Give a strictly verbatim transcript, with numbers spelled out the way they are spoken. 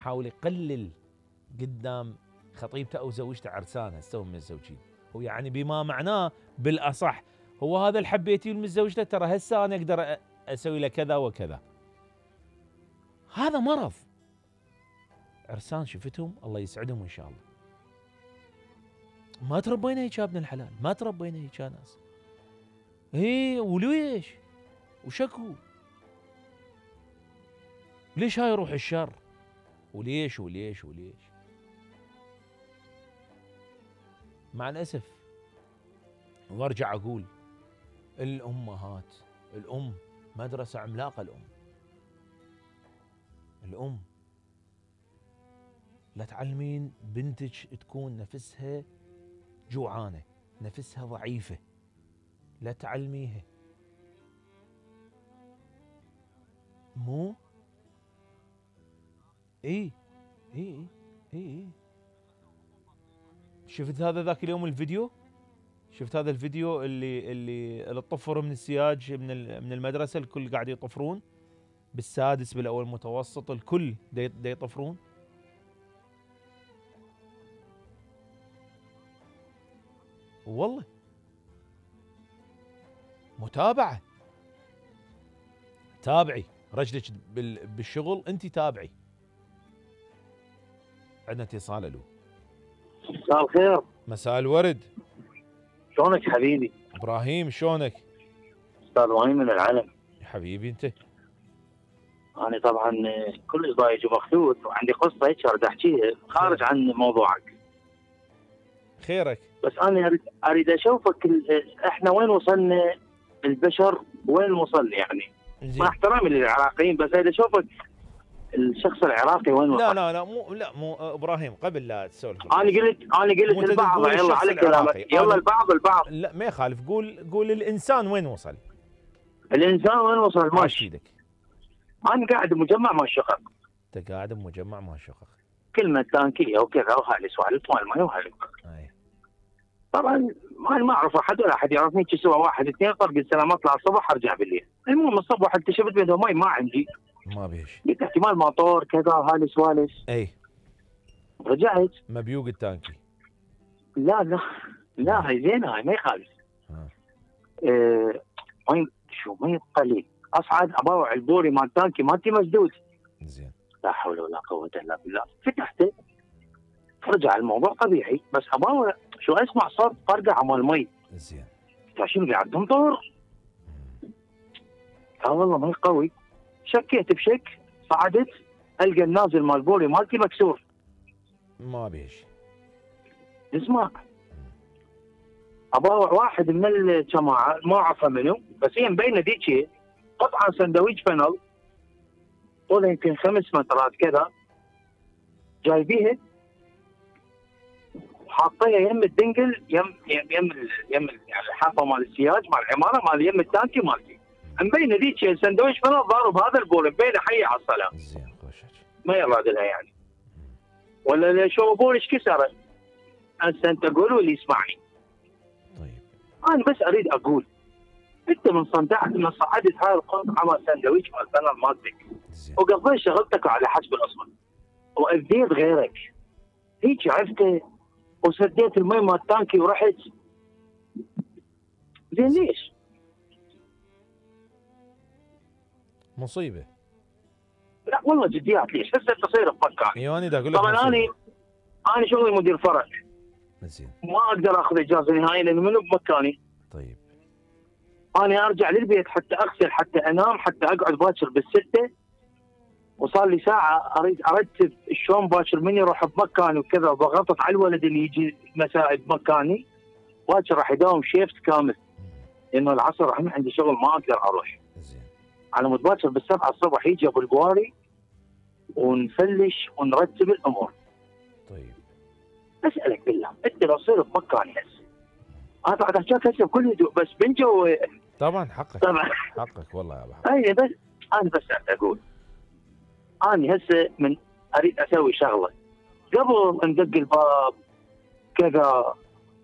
حاول يقلل قدام خطيبته او زوجته عرسانه استوى من الزوجين، هو يعني بما معناه بالاصح هو هذا اللي حبيتيه من زوجته، ترى هسه انا اقدر اسوي له كذا وكذا. هذا مرض. عرسان شفتهم الله يسعدهم ان شاء الله. ما تربينا هيك يا ابن الحلال، ما تربينا هيك يا ناس. ايه وليش؟ وشكو؟ ليش هاي روح الشر؟ وليش وليش وليش؟ مع الاسف وارجع اقول الامهات، الام مدرسة عملاقة. الام الام لا تعلمين بنتك تكون نفسها جوعانة، نفسها ضعيفة، لا تعلميها. مو اي اي اي اي شفت هذا ذاك اليوم الفيديو؟ شفت هذا الفيديو اللي اللي اللي طفروا من السياج من من المدرسة، الكل قاعد يطفرون بالسادس بالاول متوسط، الكل دا يطفرون. والله متابعة، تابعي رجلك بالشغل، انت تابعي. عندنا اتصال. الو. مساء الخير. مساء الورد. شلونك حبيبي؟ ابراهيم شلونك؟ استاذ ابراهيم من العلم. حبيبي انت. انا طبعا كلش ضايج ومخلوط وعندي قصه هيك اريد احكيها خارج عن موضوعك. خيرك. بس انا اريد اريد اشوفك احنا وين وصلنا، البشر وين وصل يعني. مع احترامي للعراقيين بس اريد اشوفك الشخص العراقي وين وصل. لا لا لا مو لا مو ابراهيم قبل لا تسولف. انا قلت انا قلت البعض، يلا على كلامك، يلا البعض البعض. لا ما يخالف، قول قول الانسان وين وصل. الانسان وين وصل؟ ماشي. ايدك. انا قاعد بمجمع مال شقق. انت قاعد بمجمع مال شقق. كلمه تانكيه وكذا وهاي سوالف مال ماي وهاي. اي. طبعا انا ما اعرف احد ولا احد يعرفني، شو سوى واحد اثنين فرق السلام، اطلع الصبح ارجع بالليل. المهم الصبح اكتشفت بيده ماي ما عندي. ما بيش. قلت احتمال مطور كذا هاي سوالف. اي. رجعت مبيوق التانكي. لا لا لا هاي زينه، هاي ما يخالف. اه مي شو مي قليل، اصعد اباوع البوري مال التانكي مالتي مسدود. زين. لا حول ولا قوه الا بالله. فتحته رجع الموضوع طبيعي، بس اباوع شو اسمع صوت فرقعه مال مي. زين. شنو قاعد تمطر؟ لا والله مي قوي. شكيت بشك، صعدت القى النازل مال بوري مالتي مكسور. ما بيش. اسمع اباوع واحد من الجماعه ما اعرفه منو، بس هي مبينه ذيك قطعه سندويش فنل طوله يمكن خمس مترات كذا، جايبيها حاطيها يم الدنقل يم يم يم يم يعني الحافه مال السياج مال العماره مال يم التانكي مالتي. مبينه ذيك سندويش فنل ضارب هذا البول، مبينه حي على الصلاه. زين خوشك. ما يراد لها يعني. ولا شو بول ايش كسره؟ هسه انت قول واللي يسمعني. طيب. انا بس اريد اقول انت من صنعت من صعدت هاي القطعه مال سندويش مال فنل مالتك وقضيت شغلتك على حسب الاصل واذيت غيرك، هيك عرفت وسديت المي مال التانكي ورحت. زين ليش؟ مصيبه. لا والله جديات ليش؟ هسه تصير بمكاني. ايوه انا اقول لك. طبعا انا انا شغلي مدير فرع. زين. ما اقدر اخذ اجازه نهائيا لانه منو بمكاني. طيب. انا ارجع للبيت حتى اغسل حتى انام حتى اقعد باكر بالسته، وصار لي ساعه اريد ارتب شلون باكر من يروح بمكاني وكذا، وبغطط على الولد اللي يجي مساء بمكاني. باكر راح يداوم شيفت كامل لانه العصر راح عندي شغل ما اقدر اروح. زين. على مود باكر بالسبعه الصبح يجي ابو البواري ونفلش ونرتب الامور. طيب. اسالك بالله انت لو تصير بمكاني هسه انا قاعد احكيك هسه بكل هدوء بس بنجو. طبعا حقك. طبعا حقك والله يا ابو حمد. اي بس انا بس اقول انا هسه من اريد اسوي شغله قبل ندق الباب كذا